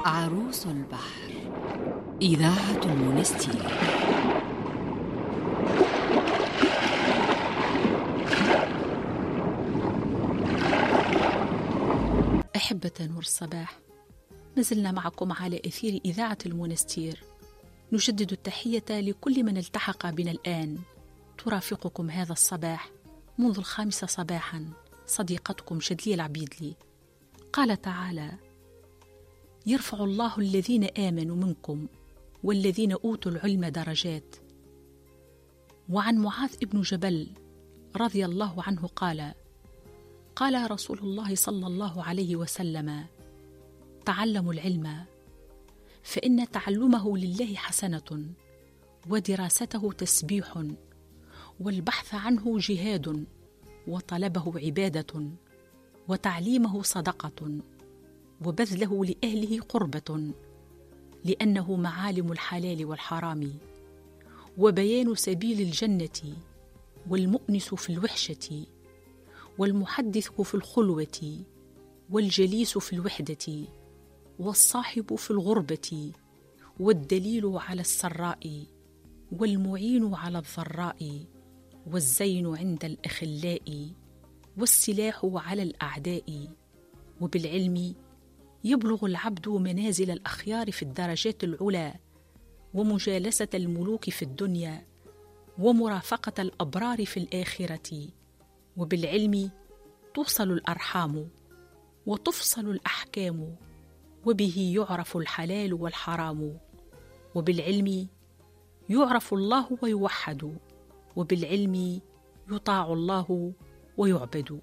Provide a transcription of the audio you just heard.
عروس البحر، إذاعة المنستير. أحبة نور الصباح، ما زلنا معكم على أثير إذاعة المنستير. نجدد التحية لكل من التحق بنا الآن. ترافقكم هذا الصباح منذ 5 صباحا صديقتكم شدلية العبيدلي. قال تعالى: يرفع الله الذين آمنوا منكم والذين أوتوا العلم درجات. وعن معاذ بن جبل رضي الله عنه قال: قال رسول الله صلى الله عليه وسلم: تعلموا العلم فإن تعلمه لله حسنة، ودراسته تسبيح، والبحث عنه جهاد، وطلبه عبادة، وتعليمه صدقة، وبذله لأهله قربة، لأنه معالم الحلال والحرام، وبيان سبيل الجنة، والمؤنس في الوحشة، والمحدث في الخلوة، والجليس في الوحدة، والصاحب في الغربة، والدليل على السراء، والمعين على الضراء، والزين عند الأخلاء، والسلاح على الأعداء. وبالعلم يبلغ العبد منازل الأخيار في الدرجات العلى، ومجالسة الملوك في الدنيا، ومرافقة الأبرار في الآخرة. وبالعلم توصل الأرحام، وتفصل الأحكام، وبه يعرف الحلال والحرام. وبالعلم يعرف الله ويوحد، وبالعلم يطاع الله ويعبد.